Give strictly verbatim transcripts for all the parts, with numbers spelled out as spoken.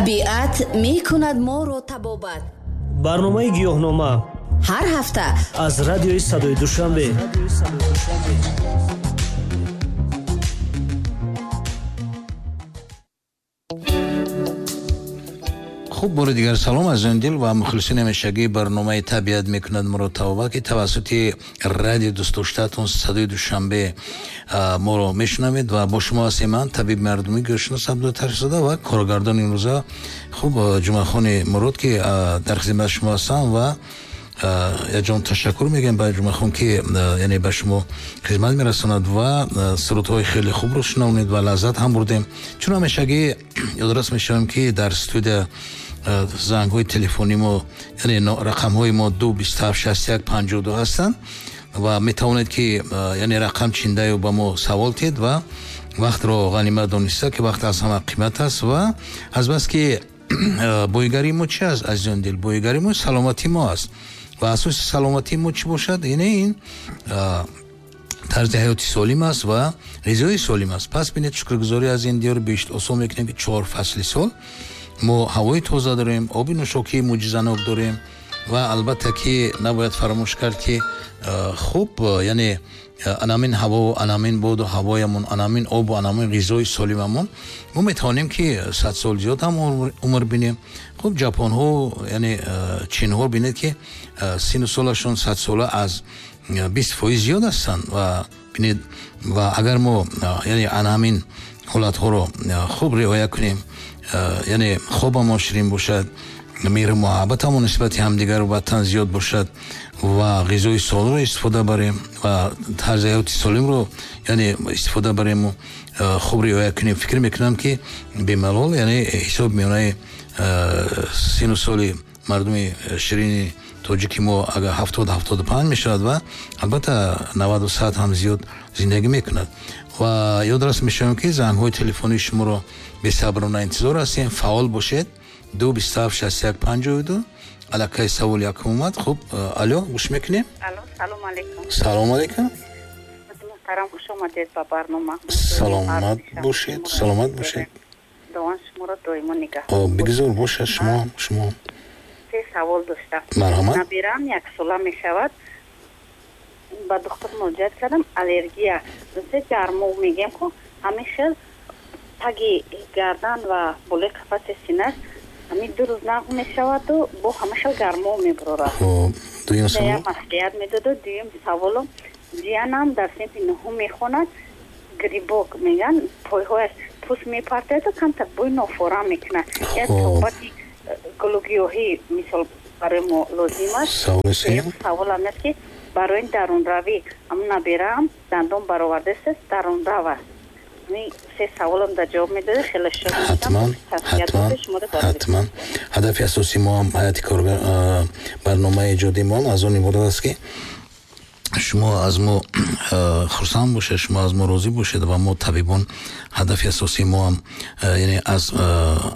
Табиат мекунад моро табобат. Барномаи гиёҳнома ҳар ҳафта аз радиои Садои Душанбе. Хуб, бори дигар салом азизони дил ва мухлисони ҳамешагии барномаи Табиат мекунад моро табобат, ки тавассути радио дӯстдоштаатон Садои Душанбе моро мешунавед ва бо шумо ҳастем ман, табиби мардумӣ гӯшнос Абдутарсзода ва коргардони имрӯза хуб Ҷумъахони Мурод, ки дар хизмати шумо ҳастам ва яҷон ташаккур мегӯям ба Ҷумъахон, ки яъне ба шумо хизмат мерасонад ва сурудҳои хеле хубро шунавонед ва лаззат ҳам бурдем. Чун ҳамешагӣ ёдрас мешавем, ки дар студия зангҳои телефонии мо, яъне рақамҳои мо ду бист ҳафт шаст як панҷоҳу ду ҳастанд ва метавонед, ки яъне рақам чиндаю ба мо савол тед ва вақтро ғанимат дониста, ки вақт аз ҳама қимат аст ва азбаски боигарии мо чи аст, азизони дил? Боигарии мо саломатии мо аст ва асоси саломатии мо чӣ бошад? Ине ин тарзи ҳаёти солим аст ва ғизои солим аст. Пас бинед, шукргузорӣ аз ин диёр бештар осон мекунем, ки чор фасли сол мо ҳавои тоза дорем, оби нӯшокии мӯъҷизанок дорем ва албатта ки набояд фаромӯш кард, ки хуб яъне анамин ҳаво, анамин боду ҳавоямон, анамин обу анамин ғизои солимамон мо метавонем, ки сад сол зиёд ҳам умр бинем. Хуб, ҷапонҳо яъне чинҳо бинед, ки сину солашон сад сола аз бист фоиз зиёд ҳастанд ва бинед, ва агар мо яъне анамин ҳолатҳоро хуб риоя кунем, яъне хобамон ширин бошад, меҳру муҳаббатамон нисбати ҳамдигару ватан зиёд бошад ва ғизои солимро истифода барем ва тарзи ҳаёти солимро яъне истифода барему хуб риоя кунем, фикр мекунам, ки бемалол яъне ҳисоб миёнаи сину соли мардуми ширини тоҷики мо агар ҳафтод ҳафтоду панҷ мешавад ва албатта наваду сад ҳам зиёд зиндагӣ мекунад. Ва ёдрас мешавем, ки зангҳои телефонии шуморо бесаброна интизор ҳастем. Фаъол бошед. Ду бист ҳафт шаст як панҷоҳу ду. Аллакай савол якум омад. Хуб, алло, гӯш мекунем. Алло, салом алейкум. Салом алейкум. Муҳтарам, хуш омадед ба барнома. Саломат бошед, саломат бошед. Худованд шуморо доимо нигаҳ. Бигзор бошад шумо, шумо. Се савол доштам. Марҳамат. Набирам як сола мешавад. Ба духтур муроҷиат кардам, аллергия. Се гармо мегӯям, ку ҳамин хел таги гардан ва болои қафаси синаш ҳамин ду рӯз нағм мешаваду бо ҳама хел гармо мебурорад. Хуб, дуюм савол? Маслиҳат медоду. Дуюм саволум, ҷиянам дар синфи нуҳум мехонад, грибок мегӯянд, пойҳояш пӯст мепартояду камтар бӯи нофорам мекунад. Як суҳбати гулугиёҳӣ мисол барои мо лозим аст. Саволи сеюм? Саволам аст, ки барои дарунравӣ ҳамун набираам дандон баровардааст, дарунрав аст. Се саволам дар ҷавоб медодед, хеле шод мешавам. Ҳатман, ҳатман, ҳатман. Ҳадафи асосии мо ҳам ҳайати коргар барномаи эҷодии мо ҳам аз он иборат аст, ки шумо аз мо хурсанд бошед, шумо аз мо розӣ бошед ва мо табибон ҳадафи асосии мо ҳам яъне аз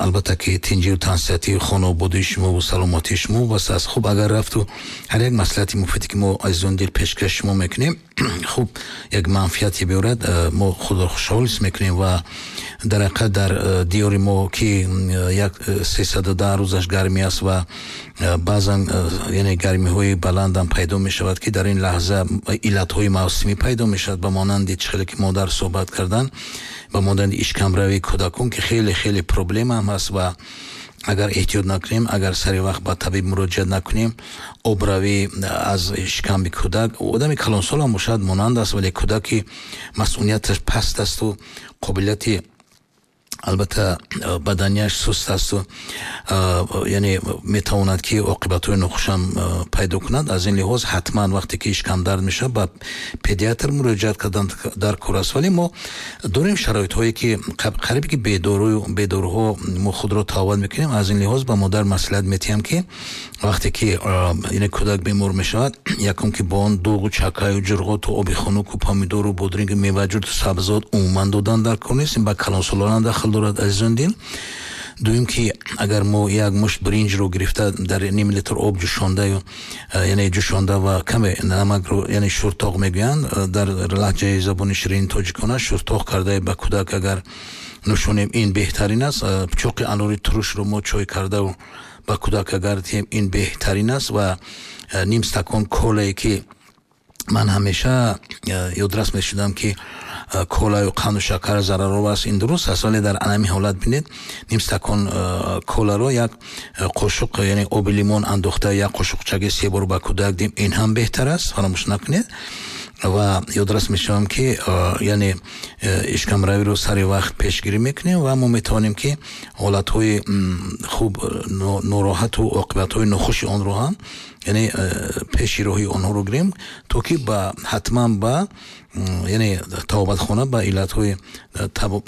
албатта ки тинҷию тансиҳатии хонаводаи шумо ва саломатии шумо вобаста аст. Хуб, агар рафту ҳар як маслиҳати муфиде, ки мо азизони дил пешкаш шумо мекунем, хуб як манфиате биёрад, мо худро хушҳол ҳис мекунем ва дар ҳақиқат дар диёри мо, ки як сесаду даҳ рӯзаш гармӣ аст ва баъзан яъне гармиҳои баландам пайдо мешавад, ки дар ин лаҳза иллатҳои мавсимӣ пайдо мешавад, ба монанди чӣ хеле ки модар суҳбат кардан, ба монанди ишкамравии кӯдакон, ки хеле хеле проблема ҳам ҳаст ва агар эҳтиёт накунем, агар сари вақт ба табиб муроҷиат накунем, обравӣ аз шиками кӯдак, одами калонсол ҳам бошад монанд аст, вале кӯдаки масъунияташ паст асту қобилияти албатта баданияш суст асту яъне метавонад, ки оқибатҳои нохушам пайдо кунад. Аз ин лиҳоз ҳатман вақте ки ишкамдард мешавад, ба педиатр муроҷиат кардан дар кор аст. Вале мо дорем шароитҳое, ки қариб ки бедору бедоруҳо мо худро таъвад мекунем. Аз ин лиҳоз ба модар маслиҳат метиҳам, ки вақте ки яъне кӯдак бемор мешавад, якум ки бо он дуғу чакаю ҷурғоту оби хунуку помидору бодрингу меваҷурту сабзот умуман додан дар кор нест, ба калонсолон дахл дорад, азизон дил. Дуюм ки агар мо як мушт бринҷро гирифта дар ним литр об ҷӯшондаю яъне ҷӯшонда ва каме намакро, яъне шуртоқ мегӯянд дар лаҳҷаи забони ширини тоҷикона, шуртоқ карда ба кӯдак агар нӯшонем, ин беҳтарин аст. Чоқи анори турушро мо чой карда ба кӯдак агар диҳем, ин беҳтарин аст. Ва ним стакон колае ки ман ҳамеша ёдрас мешудам, ки колаю қанду шакар зараровар аст, ин дуруст аст, вале дар анами ҳолат бинед, ним стакон коларо як қошуқ, яъне оби лимон андохта як қошуқчаги се бор ба кӯдак диҳем, ин ҳам беҳтар аст, фаромӯш накунед. Ва ёдрас мешавам, ки яъне ишкамравиро сари вақт пешгирӣ мекунем ва мо метавонем, ки ҳолатҳои хуб нороҳату оқибатҳои нохуши онро ҳам, яъне пеши роҳи онҳоро гирем, то ки ба ҳатман ба яъне табобатхона, ба иллатҳои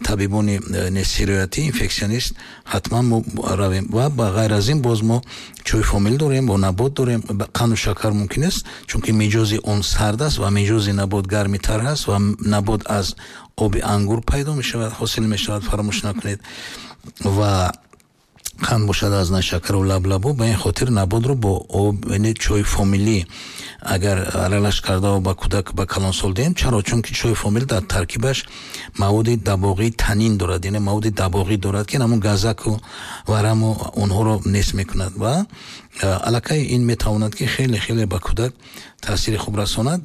табибони сироятӣ, инфексионист ҳатман мо равем. Ва ба ғайр аз ин боз мо чойи фомил дорем, бо набот дорем. Қанду шакар мумкин аст, чунки миҷози он сард аст ва миҷози набот гармитар аст ва набот аз оби ангур пайдо мешавад, ҳосил мешавад, фаромӯш накунед. Ва қанд бошад аз нашакару лаблабу, ба ин хотир наботро бо об, яъне чойи фомилӣ агар аралаш карда ба кӯдак, ба калонсол диҳем. Чаро? Чунки чойи фомил дар таркибаш маводи дабоғии танин дорад, яъне маводи дабоғӣ дорад, ки ҳамун газаку вараму онҳоро нест мекунад ва аллакай ин метавонад, ки хеле хеле ба кӯдак таъсири хуб расонад,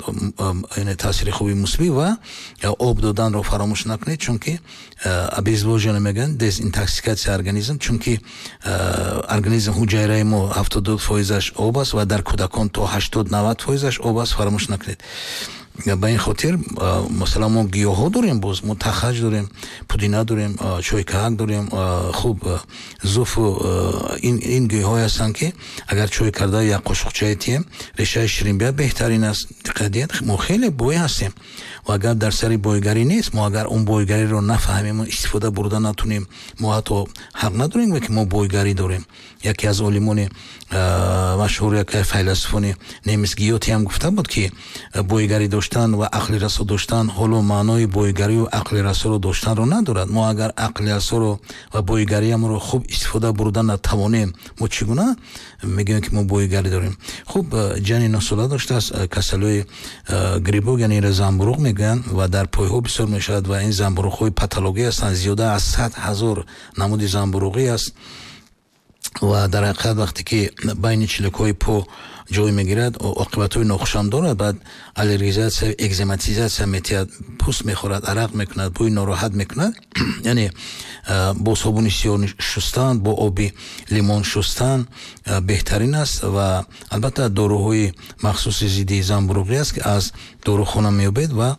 яъне таъсири хуби мусбӣ. Ва об доданро фаромӯш накунед, чунки обезвоживание мегӯянд, дезинтоксикация организм, чунки организм, ҳуҷайраи мо ҳафтоду ду фоизаш об аст ва дар кӯдакон то ҳаштод навад фоизаш об аст, фаромӯш накунед. Ба ин хотир масалан мо гиёҳҳо дорем, боз мо тахаҷ дорем, пудина дорем, чойкаак дорем, хуб зуфу ин ин гиёҳҳое ҳастанд, ки агар чой карда як қошуқчае тием, решаи ширинбия беҳтарин аст. Диққат диҳед, мо хеле бой ҳастем ва агар дар сари бойгарӣ нест, мо агар он бойгариро нафаҳмем, истифода бурда натунем, мо ҳатто ҳақ надорем, ки мо бойгарӣ дорем. Яке аз олимони машҳур, яке файласуфони немис Гёте ҳам гуфта буд, ки бойгарӣ доштан ва ақли расо доштан ҳоло маънои бойгарию ақли расоро доштанро надорад. Мо агар ақли расоро ва бойгариамро хуб истифода бурда натавонем, мо чӣ гуна мегӯем, ки мо бойгарӣ дорем? Хуб, ҷани нӯҳсола доштааст, касалиҳои грибок, яъне инро замбуруғ мегӯянд ва дар пойҳо бисёр мешавад ва ин замбуруғҳои патологӣ ҳастанд, зиёда аз сад ҳазор намуди замбуруғӣ аст ва дар ҳақиқат вақте ки байни чиликҳои по ҷой мегирад, оқибатҳои нохушам дорад. Баъд аллергизатсия, экзематизатсия метиҳад, пӯст мехӯрад, арақ мекунад, бӯи нороҳат мекунад. Яъне бо собуни сиёҳ шустан, бо оби лимон шустан беҳтарин аст. Ва албатта доруҳои махсуси зидди замбуруғӣ аст, ки аз дорухона меёбед ва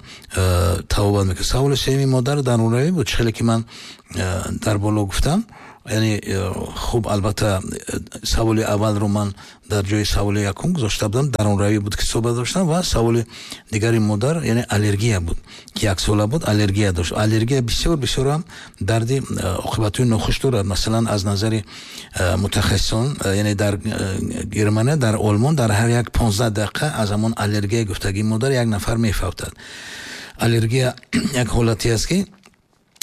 табобат мекунад. Саволи сеюми модар дарунравӣ буд, чӣ хеле ки ман дар боло гуфтам. Яъне хуб, албатта саволи аввалро ман дар ҷои саволи якум гузошта будам, дарунравӣ буд, ки суҳбат доштам. Ва саволи дигари модар, яъне аллергия буд, ки яксола буд, аллергия дошт. Аллергия бисёр бисёр ҳам дарди оқибатҳои нохуш дорад. Масалан, аз назари мутахассисон, яъне дар Германия, дар Олмон дар ҳар як понздаҳ дақиқа аз ҳамон аллергияи гуфтагии модар як нафар мефавтад. Аллергия як ҳолате аст, ки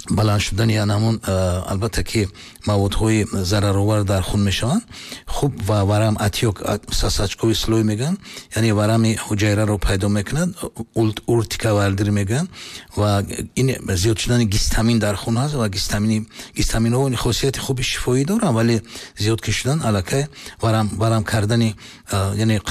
баланд шудани ҳамон албатта ки маводҳои зараровар дар хун мешаванд, хуб, ва варам, отёк, сосочковый слой мегӯянд, яъне варами ҳуҷайраро пайдо мекунад, уртика вардир мегӯянд. Ва ин зиёд шудани гистамин дар хун ҳаст ва гистамини гистаминҳо хосияти хуби шифоӣ доранд, вале зиёд ки шудан, аллакай варам варам кардани, яъне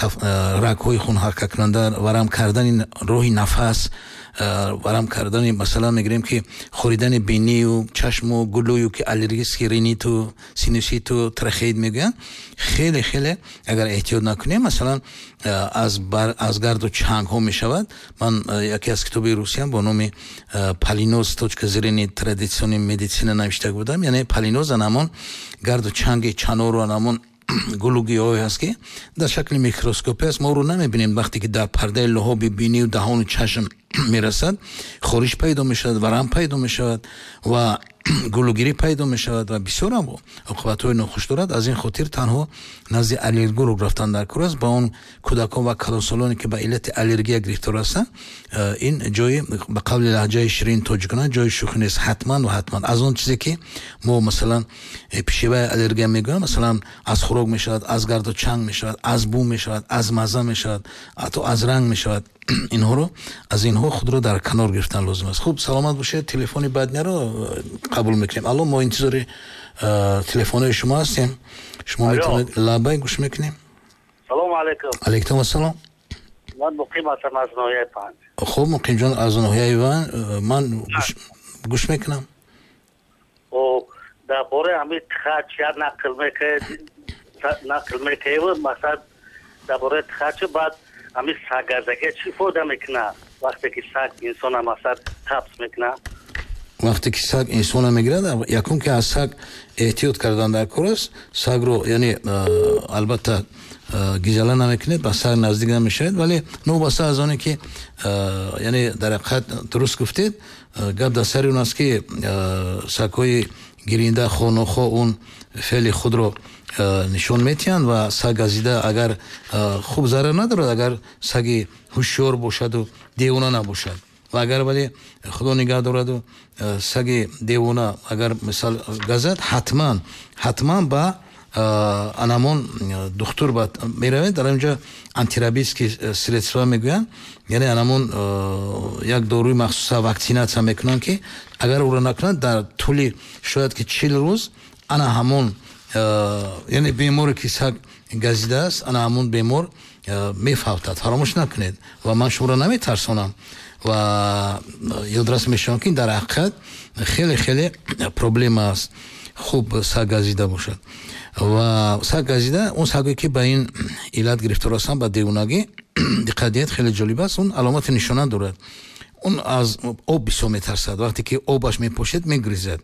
рагҳои хун ҳаракаткунанда, варам кардани роҳи нафас, варам кардани, масалан мегирем, ки хӯридани бинию чашму гулӯю, ки аллергический риниту, синуситу, трахеит мегӯянд. Хеле хеле агар эҳтиёт накунем, масалан аз аз гарду чангҳо мешавад. Ман яке аз китоби русиям бо номи «Поллиноз. Точка зрения традиционной медицины» навишта будам. Яъне поллиноз ҳамон гарду чанги чанору ҳамон гулу гиёҳое ҳаст, ки дар шакли микроскопӣ аст, мо ӯро намебинем. Вақте ки дар пардаи луҳоби бинию даҳону чашм мерасад, хориш пайдо мешавад, варам пайдо мешавад ва гулугирӣ пайдо мешавад ва бисёр ҳам оқибатҳои нохуш дорад. Аз ин хотир танҳо назди аллерголог рафтан дар кор аст. Ба он кӯдакон ва калонсолоне, ки ба иллати аллергия гирифтор ҳастанд, ин ҷои, ба қавли лаҳҷаи ширини тоҷикона, ҷои шӯхӣ нест. Ҳатман ва ҳатман аз он чизе, ки мо масалан пищевая аллергия мегӯям, масалан аз хӯрок мешавад, аз гарду чанг мешавад, аз бӯ мешавад, аз мазза мешавад, ҳатто аз ранг мешавад. Инҳоро аз инҳо худро дар канор гирифтан лозим аст. Хуб, саломат бошед. Телефони баъдиро қабул мекунем. Алло, мо интизори телефонҳои шумо ҳастем. Шумо метавонед, лабай, гӯш мекунем. Салому алайкум. Алайкум ассалом. Ман Муқим ҳастам аз ноҳияи Панҷ. Хуб, Муқимҷон аз ноҳияи Ван, ман гӯш мекунам. Дар бораи ҳамин тихач як нақл мекард, нақл мекард, масалан дар бораи тихач, баъд ҳамин саггазагия чӣ фоида мекунад, вақте ки саг инсона масалан қабз мекунад? Вақте ки саг инсона мегирад, якум ки аз саг эҳтиёт кардан дар кор аст. Сагро, яъне, албатта гизала намекунед, ба саг наздик намешавед, вале новобаста аз оне ки, яъне, дар ҳақиқат дуруст гуфтед, гап дар сари он аст, ки сагҳои гиринда хонохо он феъли худро нишон метиҳанд ва саг газида агар хуб зарар надорад, агар саги ҳушёр бошаду девона набошад. Ва агар, вале худо нигаҳ дораду, саги девона агар мисал газад, ҳатман ҳатман ба анамон духтур меравед. Дар онҷо антирабические средства мегӯянд, яъне анамон як доруи махсуса вакцинатсия мекунанд, ки агар ӯро накунанд, дар тӯли шояд ки чил рӯз ана ҳамон, яъне беморе ки саг газидааст, ана ҳамон бемор мефавтад. Фаромӯш накунед, ва ман шуморо наметарсонам ва ёдрас мешавам, ки дар ҳақиқат хеле хеле проблема аст. Хуб, саг газида бошад ва саг газида, он сагое ки ба ин иллат гирифтор ҳастанд, ба девонагӣ, диққат диҳед, хеле ҷолиб аст, он аломати нишона дорад. Он аз об бисёр метарсад, вақте ки обаш мепошед, мегризад.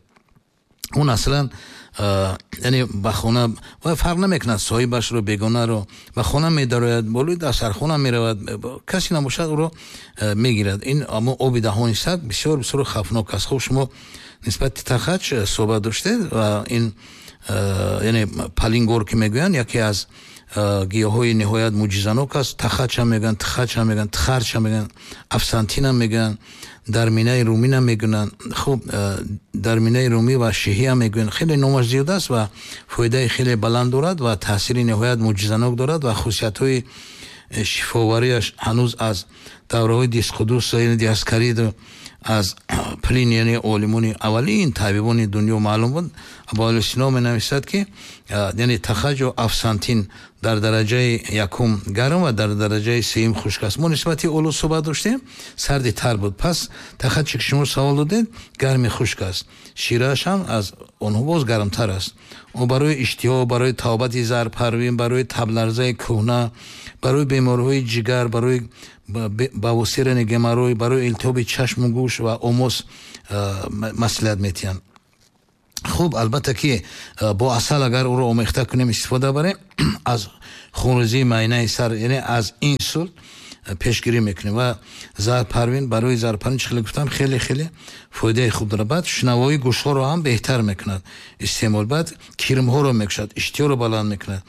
Он аслан, яъне, ба хона ва фарқ намекунад соҳибашро, бегонаро, ба хона медарояд, болои дастархона меравад, касе набошад, ӯро мегирад. Ин амо оби даҳони саг бисёр бисёр хавфнок аст. Хуб, шумо нисбати тахач суҳбат доштед ва ин, яъне, палингор ки мегӯянд, яке аз гиёҳҳои ниҳоят мӯъҷизанок аст. Тахачам мегӯянд, тихачам мегӯянд, тихарчам мегӯянд, афсантинам мегӯянд, дарминаи руминам мегӯянд. Хуб, дарминаи румӣ ва шиҳиам мегӯянд. Хеле номаш зиёд аст ва фоидаи хеле баланд дорад ва таъсири ниҳоят мӯъҷизанок дорад ва хусусиятҳои шифоварияш ҳанӯз аз давраҳои Дисқудус, яъне Диаскариду, аз Плин, яъне олимони аввалин табибони дунё маълум буд. Абуали Сино менависад, ки, яъне, тахаҷу афсантин дар дараҷаи якум гарм ва дар дараҷаи сеюм хушк аст. Мо нисбати олу суҳбат доштем, сарди тар буд. Пас тахаче ки шумо савол додед, гарми хушк аст, ширааш ҳам аз онҳо боз гармтар аст. Ӯ барои иштиҳо, барои табобати зарпарвин, барои табларзаи кӯҳна, барои бемориҳои ҷигар, барои бавосирани геморрой, барои илтиҳоби чашму гӯш ва омос маслиҳат метиҳанд. Хуб, албатта ки бо асал агар ӯро омехта кунем, истифода барем, аз хунрезии майнаи сар, яъне аз инсулт пешгирӣ мекунем. Ва зарпарвин, барои зарпарвин, чӣ хеле гуфтам, хеле хеле фоидаи хуб дорад. Баъд шунавоии гӯшҳоро ҳам беҳтар мекунад истеъмол, баъд кирмҳоро мекушад, иштиҳоро баланд мекунад.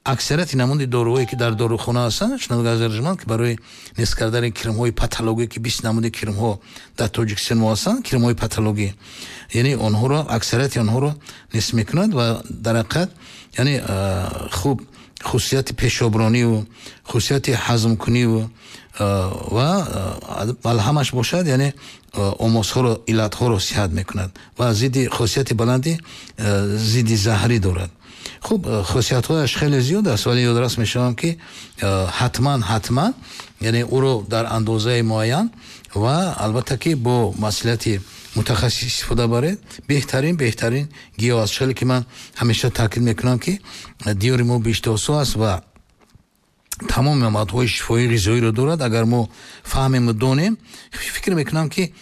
Аксарияти намуди доруҳое ки дар дорухона ҳастанд, шунавандагони, ки барои нест кардани кирмҳои патологӣ, ки бист намуди кирмҳо дар Тоҷикистон мо ҳастанд, кирмҳои патологӣ, яъне онҳоро, аксарияти онҳоро нест мекунад. Ва дар ҳақиқат, яъне, хуб, хусусияти пешоброниву хусусияти ҳазмкуниву ва малҳамаш бошад, яъне омосҳоро, иллатҳоро сиҳат мекунад ва зидди хосияти баланди зидди заҳрӣ дорад. Хуб, хосиятҳояш хеле зиёд аст, вале ёдрас мешавам, ки ҳатман ҳатман, яъне, ӯро дар андозаи муайян ва албатта ки бо маслиҳати мутахассис истифода баред. Беҳтарин беҳтарин гиёҳ аст. Хеле ки ман ҳамеша таъкид мекунам, ки диёри мо биҳиштосо аст ва тамоми моддаҳои шифоии ғизоиро дорад. Агар мо фаҳмему донем, фикр мекунам, ки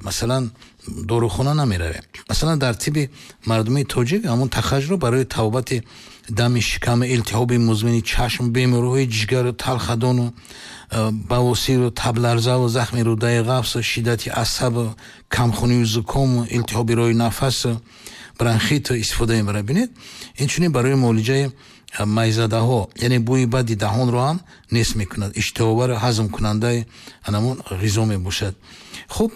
масалан дорухона намеравем. Масалан, дар тиби мардумии тоҷик ҳамон тахаҷро барои табобати дами шикам, илтиҳоби музмини чашм, бемориҳои ҷигару талхадону бавосиру табларзаву захми рӯдаи ғафсу шиддати асабу камхунию зукому илтиҳоби роҳи нафасу бронхиту истифода мебарад. Бинед, инчунин барои муолиҷаи майзадаҳо, яъне бӯи бади даҳонро ҳам нест мекунад, иштиҳовару ҳазмкунандаи анамон ғизо мебошад. Хуб,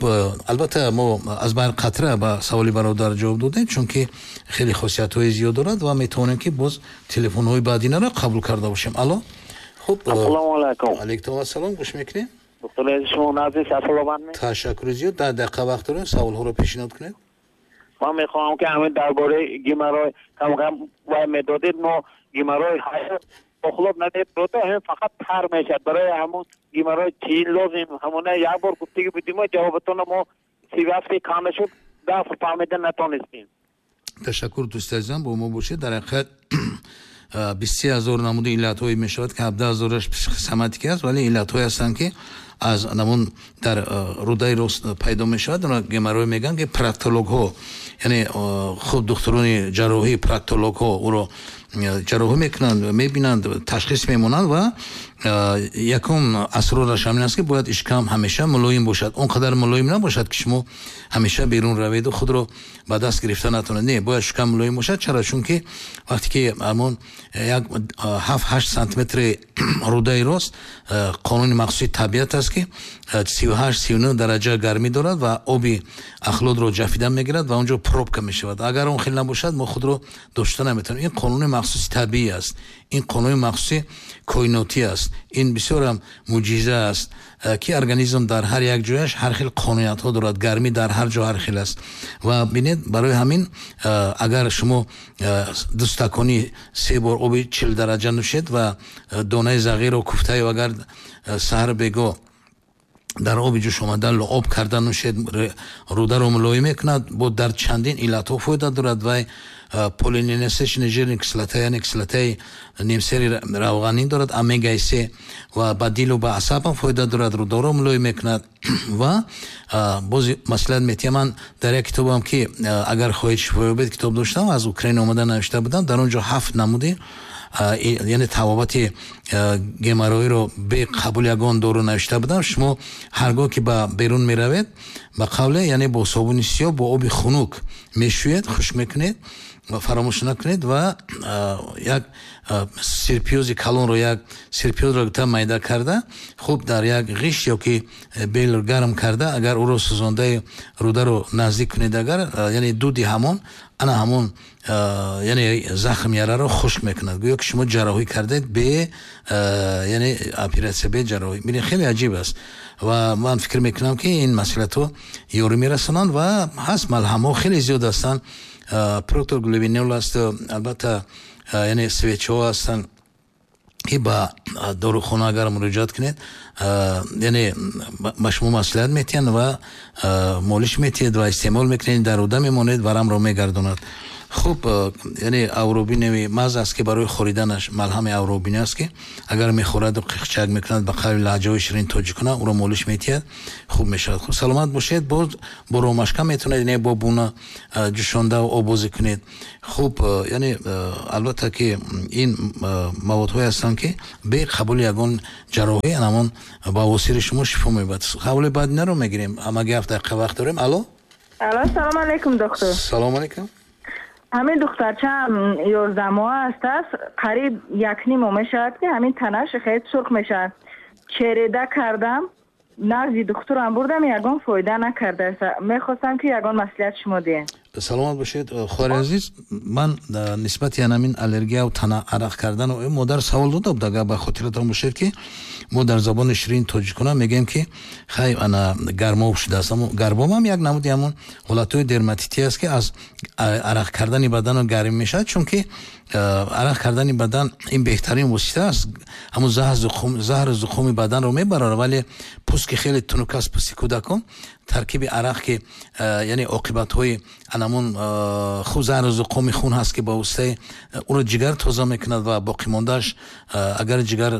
албатта мо аз байр қатра ба саволи бародар ҷавоб додем, чунки хеле хосиятҳои зиёд дорад ва метавонем ки боз телефонҳои баъдинаро қабул карда бошем. Алло, хуб. Ассалому алайкум. Алайкум ассалом, гӯш мекунем. Доктор шумо назди саломат ме? Ташаккур зиёд. Даҳ дақиқа вақт дорем, саволҳоро пешниҳод кунед. Ман мехоҳам ки ҳамин дар бораи геморрой кам кам вай медодед, мо геморрой охлот надед, ҳамин фақат тар мешавад. Барои ҳамун геморрой чӣ лозим? Ҳамона як бор гуфтагӣ будем, ҷавобатонро мо си ҳафт кам шуд, дафъ фаҳмида натонистем. Ташаккур, дӯсти азизам, бо мо бошед. Дар ҳақиқат бист се ҳазор намуди иллатҳое мешавад ки ҳабдаҳ ҳазораш психосоматика аст, вале иллатҳое ҳастанд ки аз намун дар рӯдаи рост пайдо мешавад. Онро геморрой мегӯянд ки проктологҳо, яъне хуб духтурони ҷарроҳӣ проктологҳо ӯро ҷарроҳӣ мекунанд, мебинанд, ташхис мемонанд ва якум асрораш ҳамин аст ки бояд ишкам ҳамеша мулоим бошад. Он қадар мулоим набошад ки шумо ҳамеша берун раведу худро ба даст гирифта натавонед. Не, бояд шикам мулоим бошад. Чаро? Чунки вақте ки ҳамон як ҳафт ҳашт сантиметри рӯдаи рост, қонуни махсуси табиат аст ки сию ҳашт сию нӯҳ дараҷа гармӣ дорад ва оби ахлотро ҷафида мегирад ва онҷо пробка мешавад. Агар он хел набошад, мо худро дошта наметавонем. Ин қонуни махсуси табиӣ аст, ин қонуни махсуси коинотӣ аст, ин бисёрам мӯъҷиза аст ки организм дар ҳар як ҷояш ҳар хел қонуниятҳо дорад, гармӣ дар ҳар ҷо ҳар хел аст. Ва бинед, барои ҳамин агар шумо ду стакони се бор оби чил дараҷа нӯшед ва донаи зағирро куфтаю агар саҳар бего дар оби ҷӯш омада луоб карда нӯшед, рӯдаро мулоим мекунад, бо дар чандин иллатҳо фоида дорад. Вай полиненасыщенная жирная кислота, яъне кислотаи нимсери равғанӣ дорад, омегаи се, ва ба дилу ба асабам фоида дорад, рӯдаро мулоим мекунад. Ва боз маслиҳат метиҳам, ман дар як китобам ки агар хоҳед шифо ёбед китоб доштам, аз Украина омада навишта будам, дар он ҷо ҳафт намуди яъне табобати геморройро бе қабул ягон дору навишта будам. Шумо ҳаргоҳ ки ба берун меравед, ба қавле яъне бо собуни сиёҳ бо оби хунук мешӯед, хушк мекунед ва фаромӯш накунед ва як сирпиёзи калонро, як сирпиёзро та майда карда, хуб дар як ғишт ё ки бел гарм карда, агар ӯро сӯзондаи рӯдаро наздик кунед, агар яъне дуди ҳамон ана ҳамон яъне захм яраро хушк мекунад, гӯё ки шумо ҷарроҳӣ кардед бе яъне оператсия бе ҷарроҳӣ. Бинед, хеле аҷиб аст ва ман фикр мекунам ки ин масъалатҳо ёрӣ мерасонанд ва ҳаст малҳамҳо хеле зиёд ҳастанд. Проктоглобинол аст, албатта яъне свечҳо ҳастанд ки ба дорухона агар муроҷиат кунед, яъне ба шумо маслиҳат метиҳанд ва молиш метиҳед ва истеъмол мекунед, дар рӯда мемонед, варамро мегардонад. Хуб, яъне авробиневи маз аст ки барои хориданаш малҳами авробин аст ки агар мехӯраду қиқчак мекунад, ба қавли лаҳҷаҳои ширин тоҷикона ӯро молиш метиҳад, хуб мешавад. Хуб, саломат бошед. Боз бо ромашка метавонед, яъне бо буна ҷӯшонда обозӣ кунед. Хуб, яъне албатта ки ин маводҳое ҳастанд ки бе қабули ягон ҷарроҳӣ ҳамон ба восири шумо шифо меёбад. Қабули баъд наро мегирем, ҳамагӣ ҳафт дақиқа вақт дорем. Алло, алло, салом алейкум доктор. Салом алейкум. ҳамин духтарчаам ёздаҳ моҳ аст, аст қариб як ним моҳ мешавад ки ҳамин танаш хеле сурх мешавад. Череда кардам, назди духтурам бурдам, ягон фоида накардааст. Мехостам ки ягон маслиҳат шумо диҳед. Саломат бошед, хоҳари азиз. Ман нисбати ҳамин аллергия ва тана арақ кардан модар савол дода буд. Агар ба хотиратон бошед ки мо дар забони ширини тоҷикона мегӯем ки хай ана гармоб шудааст. Аммо гармоб ҳам як намуди ҳамон ҳолатҳои дерматитӣ аст ки аз арақ кардани бадану гарм мешавад, чунки арақ кардани бадан ин беҳтарин восита аст, ҳамон заҳру зуқуми баданро мебарад, вале пӯст ки хеле тунук аст, пӯсти кӯдакон, таркиби арақ ки яъне оқибатҳои анамон хуб заҳру зуқуми хун ҳаст ки ба воситаи ӯро ҷигар тоза мекунад ва боқимондааш агар ҷигар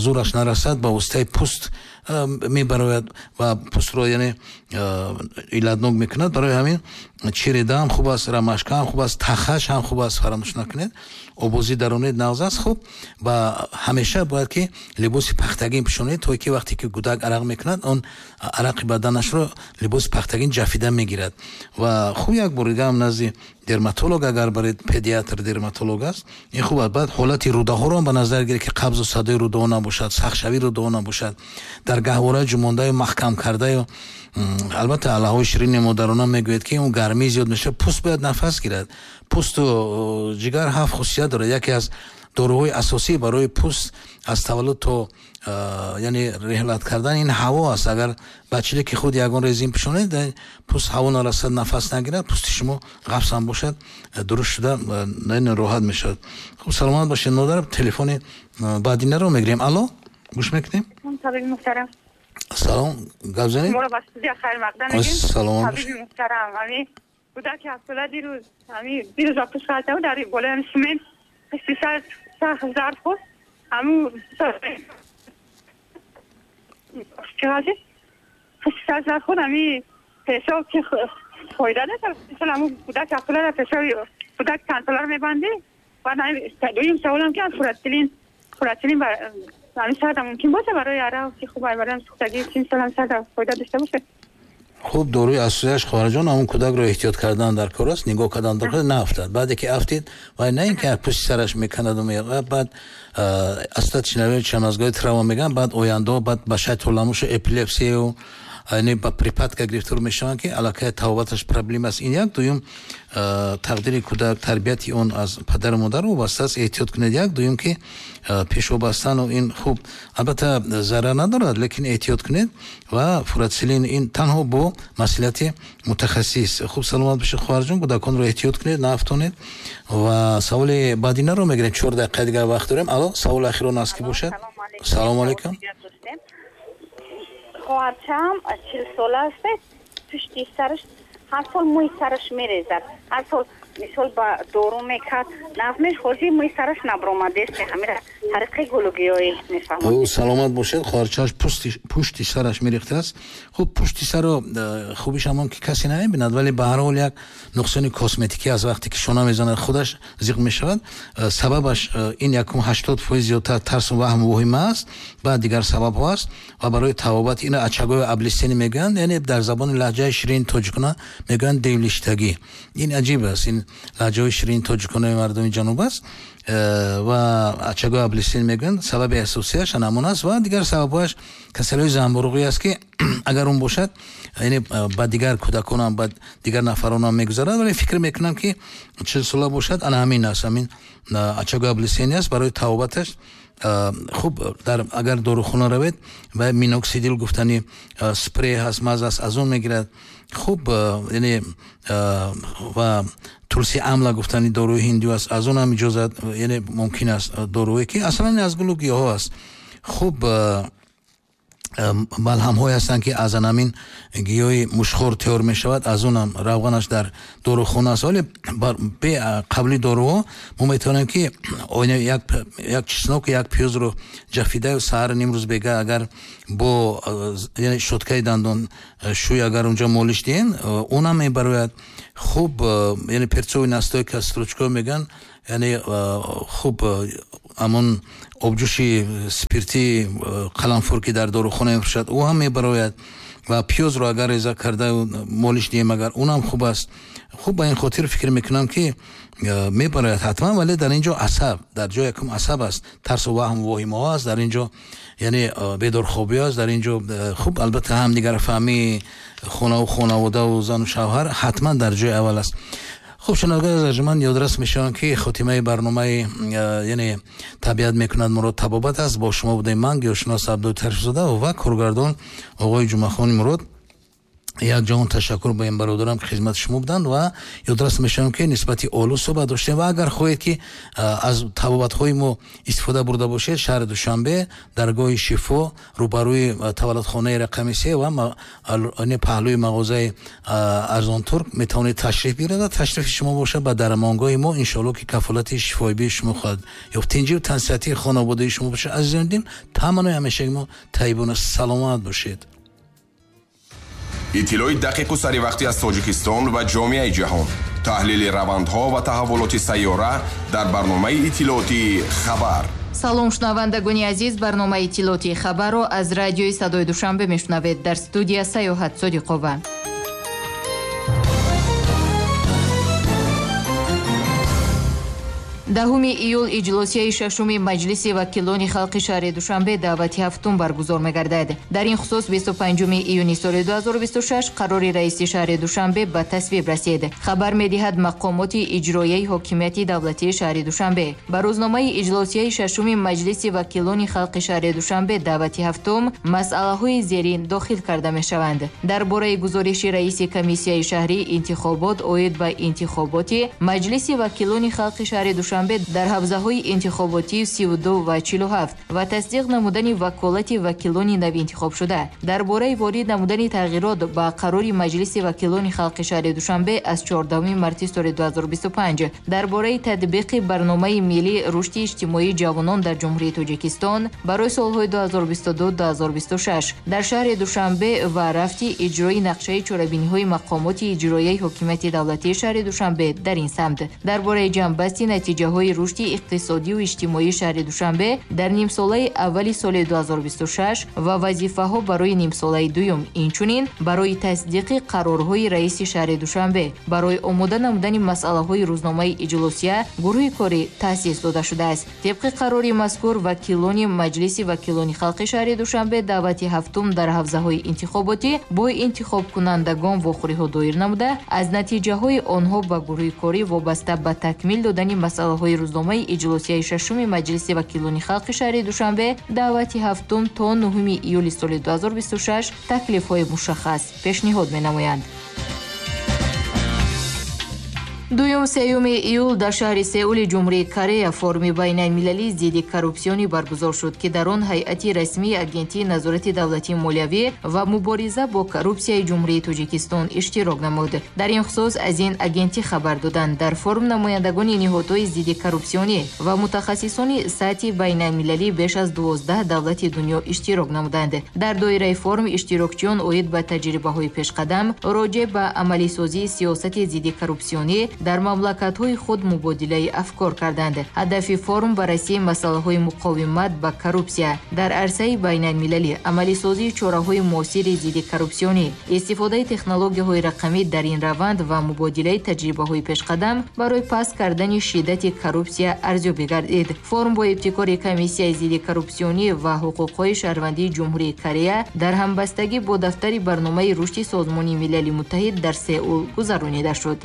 зӯраш нарасад, ба воситаи пӯст мебарояд ва пӯстро яъне иллатнок мекунад. Барои ҳамин череда ҳам хуб аст, рамашка ҳам хуб аст, тахаш ҳам хуб аст, фаромӯш накунед, обозӣ даронед нағз аст. Хуб, ва ҳамеша бояд ки либоси пахтагин пӯшонед, то ки вақте ки кӯдак арақ мекунад, он арақи баданашро либоси пахтагин ҷафида мегирад. Ва хуб, як бор дига ҳам назди дерматолог агар баред, педиатр дерматолог аст, ин хуб аст. Баъд ҳолати рӯдаҳоро ҳам ба назар гиред ки қабзу садои рӯдаҳо набошад, сахтшавии рӯдаҳо набошад, дар гаҳвора ҷумондаю маҳкам кардаю. Албатта аллаҳои ширини модарона мегӯяд ки он гармӣ зиёд мешавад, пӯст бояд нафас гирад. Пӯсту ҷигар ҳафт хусусият дорад. Яке аз Доруҳои асосӣ барои пӯст аз таваллуд то яъне реҳлат кардан ин ҳаво аст. Агар ба чилики худ ягон резин пӯшонед, пӯст ҳаво нарасад, нафас нагирад, пӯсти шумо ғафс ҳам бошад, дуруст шуда роҳат мешавад. Хуб, саломат бошед модар. Телефони баъдинаро мегирем. Алло, гӯш мекунем. Табиби муҳтарам. Салом, гап занед. Шуморо ба студия хайрмақдам мегӯем. Саломат бошед. Табиби муҳтарам, ҳамин кӯдаки ҳафтсола дирӯз ҳамин дирӯз ба пушт ғалта буд, дар болои ҳамин симент пушти сар сахт зарб хӯрд. Ҳамун чӣ ғалти? Пушти сар зарб хӯрд, ҳамин пешоб ки фоида надорад. Мисол ҳамун кӯдак ҳафтсоларо пешоби кӯдак чандсоларо мебандӣ. Баъд дуюм саволам ки фурацилин фурацилин ҳамин сарда мумкин боша барои арав ки хуб барои сӯхтагӣ чӣ мисол ҳамин сарда фоида дошта бошад? Хуб, доруи асосияш хоҳарҷон ҳамун кӯдакро эҳтиёт кардан дар кор аст, нигоҳ кардан дар кор, наафтад. Баъде ки афтид, вай на ин ки пушти сараш меканаду меғаб, баъд астатичнави чамазгоҳи травма мегӯянд, баъд ояндаҳо баъд ба шай толамушу эпилепсияю яъне ба припадка гирифтор мешаванд, ки аллакай тавобаташ проблема аст. Ин як. Дуюм, тақдири кӯдак, тарбияти он аз падару модар вобаста аст, эҳтиёт кунед. Як. Дуюм ки пешобастану ин хуб албатта зарар надорад, лекин эҳтиёт кунед ва фурацилин ин танҳо бо масъулияти мутахассис. Хуб, саломат бошед хоҳарҷон, кӯдаконро эҳтиёт кунед, наафтонед. Ва саволи баъдинаро мегирем, чор дақиқа дигар вақт дорем. Алло, саволи ахирон аст ки бошад. Салому алайкум. Хоҳарчаам чил сола аст, пушти сараш ҳар сол мӯи сараш мерезад, ҳар сол мисол ба дору мекард, нафмеш ҳозир мӯи сараш набромадест, ҳамира тариқи гулугиёӣ мефаҳмад. Ӯ саломат бошед, хоҳарчааш пушти сараш мерехтааст. Хуб, пушти саро хубиш ҳамон ки касе намебинад, вале ба ҳар ҳол як нуқсони косметикӣ аз вақте ки шона мезанад худаш зиқ мешавад. Сабабаш ин якум ҳаштод фоиз зиёдтар тарсу ваҳму воҳима аст, баъд дигар сабабҳо аст ва барои тавобат ина очаговая облысение мегӯянд, яъне дар забони лаҳҷаи ширини тоҷикона мегӯянд девлиштагӣ. Ин аҷиб аст, ин лаҳҷаҳои ширини тоҷиконаи мардуми ҷануб аст ва очаговая облысение мегӯянд. Сабаби асосияш ҳамон аст ва дигар сабабҳояш касалиҳои занбуруғӣ аст, ки агар он бошад, яъне ба дигар кӯдаконам, ба дигар нафаронам мегузарад, вале фикр мекунам ки чил сола бошад, ана ҳамин аст, ҳамин очаговая облысение аст. Барои тавобаташ хуб, дар агар дорухона равед ва миноксидил гуфтани спрей ҳаст, маз аст, аз он мегирад. Хуб, яъне ва тулси амла гуфтани доруи ҳиндӣ аст, аз он ҳам иҷозат, яъне мумкин аст доруе ки аслан аз гулу гиёҳҳо аст. Хуб, малҳамҳое ҳастанд ки аз анамин гиёҳи мушхор тайёр мешавад, аз онам равғанаш дар дорухона аст. Вале бе қабли доруҳо мо метавонем ки як чеснок, як пиёзро ҷафидаю саҳар нимрӯз бега агар бо яъне щёткаи дандон шӯй агар унҷо молиш диҳем, онам мебарояд. Хуб, яъне перцовый настойка стручко мегӯянд, яъне хуб ҳамон обҷӯши спирти қаламфур ки дар дорухона мефурӯшад, ӯ ҳам мебарояд. Ва пиёзро агар реза карда молиш диҳем, агар онам хуб аст. Хуб, ба ин хотир фикр мекунам ки мебарояд ҳатман, вале дар ин ҷо асаб, дар ҷои якум асаб аст, тарсу ваҳму воҳимаҳо аст дар ин ҷо, яъне бедорхобӣ аст дар ин ҷо. Хуб, албатта ҳамдигарфаҳмии хонаву хонаводаву зану шавҳар ҳатман дар ҷои аввал аст. Хуб, шунавандагони азиз, ман ёдрас мешавам ки хотимаи барномаи яъне табиат мекунад моро табобат аст. Бо шумо будем ман, гиёҳшинос Абдуллоҳ Тарифзода ва коргардон оғои Ҷумъахони Мурод. Як ҷаҳон ташаккур ба ин бародарам ки хизмати шумо буданд ва ёдрас мешавам ки нисбати олу суҳбат доштем ва агар хоҳед ки аз табобатҳои мо истифода бурда бошед, шаҳри Душанбе, даргоҳи Шифо, рӯбарӯи таваллудхонаи рақами се ва паҳлӯи мағозаи Арзонтурк метавонед ташриф биёред ва ташрифи шумо бошад ба дармонгоҳи мо, иншоалло ки кафолати шифоибии шумо хоҳад ёфт. Тинҷиву тансиҳатии хонаводаи шумо бошад. Азизони дил, таманнои ҳамешаги мо тайибона саломат бошед. Иттилои дақиқу саривақтӣ аз Тоҷикистон ва ҷомеаи ҷаҳон, таҳлили равандҳо ва таҳаввулоти сайёра дар барномаи иттилоотии хабар. Салом, шунавандагони азиз, барномаи иттилоотии хабарро аз радиои Садои Душанбе мешунавед. Дар студия Саёҳат Содиқова. Даҳуми июл иҷлосияи шашуми Маҷлиси вакилони халқи шаҳри Душанбе даъвати ҳафтум баргузор мегардад. Дар ин хусус бисту панҷуми июни соли ду ҳазору бисту шаш қарори раиси шаҳри Душанбе ба тасвиб расид. Хабар медиҳад мақомоти иҷроияи ҳокимияти давлатии шаҳри Душанбе. Ба рӯзномаи иҷлосияи шашуми Маҷлиси вакилони халқи шаҳри Душанбе даъвати ҳафтум масъалаҳои зерин дохил карда мешаванд. Дар бораи гузориши раиси комиссияи шаҳрии интихобот оид ба интихоботи Маҷлиси вакилони халқи шаҳри Душанбе дар ҳавзаҳои интихоботии сию ду ва чилу ҳафт ва тасдиқ намудани ваколати вакилони нави интихобшуда, дар бораи ворид намудани тағйирот ба қарори Маҷлиси вакилони халқи шаҳри Душанбе аз чордаҳуми марти соли ду ҳазору бисту панҷ, дар бораи татбиқи барномаи миллии рушди иҷтимоии ҷавонон дар Ҷумҳурии Тоҷикистон барои солҳои ду ҳазору бисту ду ду ҳазору бисту шаш дар шаҳри Душанбе ва рафти иҷрои нақшаи чорабиниҳои мақомоти иҷроияи ҳокимияти давлатии шаҳри Душанбе дар ин самт, дар бораи ҷамъбасти натиҷаҳои рушди иқтисодию иҷтимоии шаҳри Душанбе дар нимсолаи аввали соли ду ҳазору бисту шаш ва вазифаҳо барои нимсолаи дуюм, инчунин барои тасдиқи қарорҳои раиси шаҳри Душанбе барои омода намудани масъалаҳои рӯзномаи иҷлосия гурӯҳи корӣ таъсис дода шудааст. Тибқи қарори мазкур вакилони Маҷлиси вакилони халқи шаҳри Душанбе даъвати ҳафтум дар ҳавзаҳои интихоботӣ бо интихобкунандагон вохӯриҳо доир намуда, аз натиҷаҳои онҳо ба гурӯҳи корӣ вобаста ба такмил додани масъалаҳои рӯзномаи иҷлосияи шашуми Маҷлиси вакилони халқи шаҳри Душанбе даъвати ҳафтум то нуҳуми июли соли ду ҳазору бисту шаш таклифҳои мушаххас пешниҳод менамоянд. Дуюм сеюми июл дар шаҳри Сеули Ҷумҳурии Корея форуми байналмилалии зидди коррупсионӣ баргузор шуд, ки дар он ҳайати расмии Агентии назорати давлатии молиявӣ ва мубориза бо коррупсияи Ҷумҳурии Тоҷикистон иштирок намуд. Дар ин хусус аз ин агентӣ хабар доданд. Дар форум намояндагони ниҳодҳои зидди коррупсионӣ ва мутахассисони сатҳи байналмилалӣ беш аз дувоздаҳ давлати дунё иштирок намуданд. Дар доираи форум иштирокчиён оид ба таҷрибаҳои пешқадам, роҷеъ ба амалисозии сиёсати зидди коррупсионӣ дар мамлакатҳои худ мубодилаи афкор карданд. Ҳадафи форум баррасии масъалаҳои муқовимат ба коррупсия дар арсаи байналмилалӣ, амалисозии чораҳои муосири зидди коррупсионӣ, истифодаи технологияҳои рақамӣ дар ин раванд ва мубодилаи таҷрибаҳои пешқадам барои паст кардани шиддати коррупсия арзёбӣ гардид. Форум бо ибтикори Комиссияи зидди коррупсионӣ ва ҳуқуқҳои шаҳрвандии Ҷумҳурии Корея дар ҳамбастагӣ бо дафтари барномаи рушди Созмони Милали Муттаҳид дар Сеул гузаронида шуд.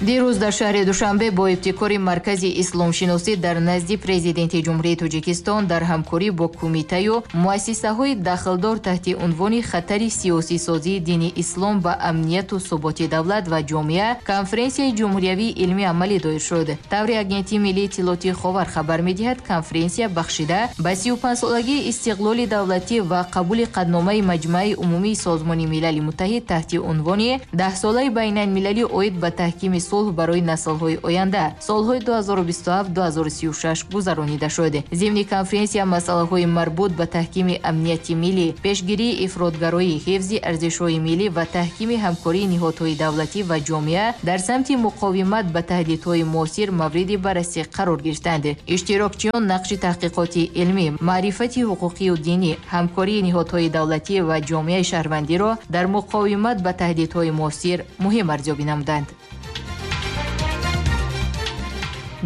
Дирӯз дар шаҳри Душанбе бо ибтикори Маркази исломшиносӣ дар назди Президенти Ҷумҳурии Тоҷикистон дар ҳамкорӣ бо кумитаю муассисаҳои дахлдор таҳти унвони хатари сиёсисозии дини ислом ба амнияту суботи давлат ва ҷомеа конференсияи ҷумҳуриявии илмии амалӣ доир шуд. Таври Агентии миллии иттилоотии Ховар хабар медиҳад, конференсия бахшида ба сию панҷсолагии истиқлоли давлатӣ ва қабули қадномаи Маҷмааи умумии Созмони Милали Муттаҳид таҳти унвони даҳсолаи байналмилалӣ оид ба таҳкими сулҳ барои наслҳои оянда солҳои ду ҳазору бисту ҳафт ду ҳазору сию шаш гузаронида шуд. Зимни конференсия масъалаҳои марбут ба таҳкими амнияти миллӣ, пешгирии ифротгароӣ, ҳифзи арзишҳои миллӣ ва таҳкими ҳамкории ниҳодҳои давлатӣ ва ҷомеа дар самти муқовимат ба таҳдидҳои муосир мавриди баррасӣ қарор гирифтанд. Иштирокчиён нақши таҳқиқоти илмӣ, маърифати ҳуқуқию динӣ, ҳамкории ниҳодҳои давлатӣ ва ҷомеаи шаҳрвандиро дар муқовимат ба таҳдидҳои муосир муҳим арзёбӣ намуданд.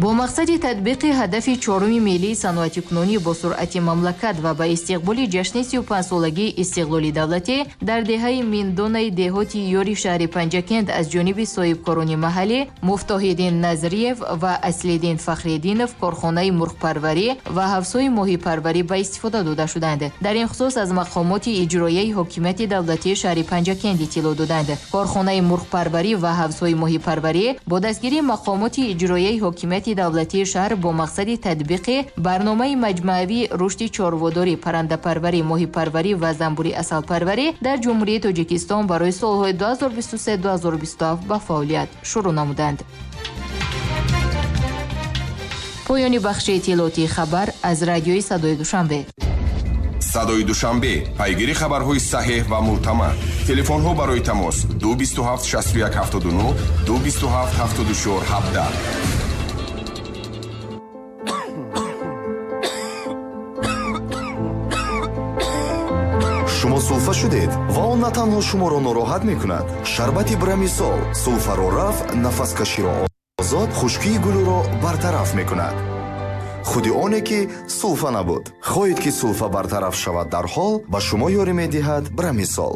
Бо мақсади татбиқи ҳадафи чоруми миллии саноатикунонӣ бо суръати мамлакат ва ба истиқболи ҷашни сию панҷсолагии истиқлоли давлатӣ дар деҳаи Миндонаи деҳоти Ёри шаҳри Панҷакент аз ҷониби соҳибкорони маҳаллӣ Муфтоҳиддин Назриев ва Аслиддин Фахриддинов корхонаи мурғпарварӣ ва ҳавзҳои моҳипарварӣ ба истифода дода шуданд. Дар ин хусус аз мақомоти иҷроияи ҳокимияти давлатии шаҳри Панҷакент иттилоъ доданд. Корхонаи мурғпарварӣ ва ҳавзҳои моҳипарварӣ бо дастгирии мақомоти иҷроияи ҳокимияти давлатии шаҳр бо мақсади татбиқи барномаи маҷмӯавии рушди чорводорӣ, паррандапарварӣ, моҳипарварӣ ва занбури асалпарварӣ дар Ҷумҳурии Тоҷикистон барои солҳои ду ҳазору бисту се ду ҳазору бисту ҳафт ба фаъолият шурӯъ намуданд. Поёни бахши иттилоотии хабар аз радиои Садои Душанбе. Садои Душанбе, пайгири хабарҳои саҳеҳ ва мӯътамад. Телефонҳо барои тамос ду бисту ҳафт шасту як ҳафтоду нӯҳ, ду бисту ҳафт ҳафтоду чор ҳабдаҳ. Шумо сулфа шудед ва он на танҳо шуморо нороҳат мекунад. Шарбати Брамисол сулфаро рафт, нафаскаширо озод хушкии гулӯро бартараф мекунад. Худи оне ки сулфа набуд. Хоҳед ки сулфа бартараф шавад дарҳол, ба шумо ёрӣ медиҳад Брамисол.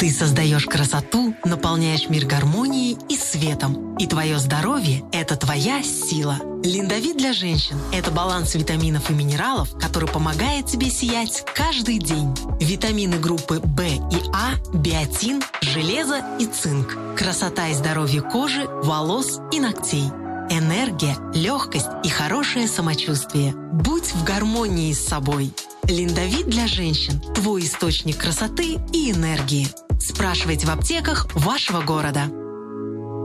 Ты создаешь красоту, наполняешь мир гармонией и светом. И твое здоровье – это твоя сила. Линдовит для женщин – это баланс витаминов и минералов, который помогает тебе сиять каждый день. Витамины группы В и А, биотин, железо и цинк. Красота и здоровье кожи, волос и ногтей. Энергия, легкость и хорошее самочувствие. Будь в гармонии с собой. Линдовит для женщин – твой источник красоты и энергии. Спрашивайте в аптеках вашего города.